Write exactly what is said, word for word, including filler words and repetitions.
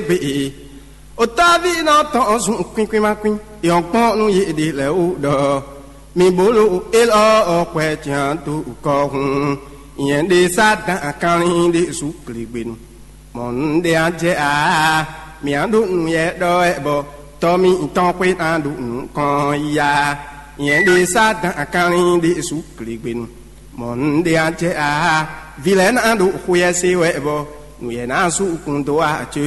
gbe e. Otáví nɔ tɔn zun kwín kwín ma kwín. Yɔn kpɔn nú yě ɖe lɛ́ɛ wú ɖɔ mi bolo élɔ́ ɔ́ kwɛ tian dó kɔ hun. Nyɛ ɖe Satan kanlin ɖe su klégbenu. Mɔ̌ un ɖe a jɛ aa, mǐ á ɖo nǔ yɛ ɖɔ wɛ bɔ tɔ́ mǐtɔn xwé ná ɖo nǔkɔn yá. Nyɛ ɖe Satan kanlin ɖe su klégbenu. Mɔ̌ un ɖe a jɛ aa, vǐ lɛ́ɛ ná ɖo xwé yɛ se wɛ bɔ nǔ yɛ ná sú kun dó wá ce.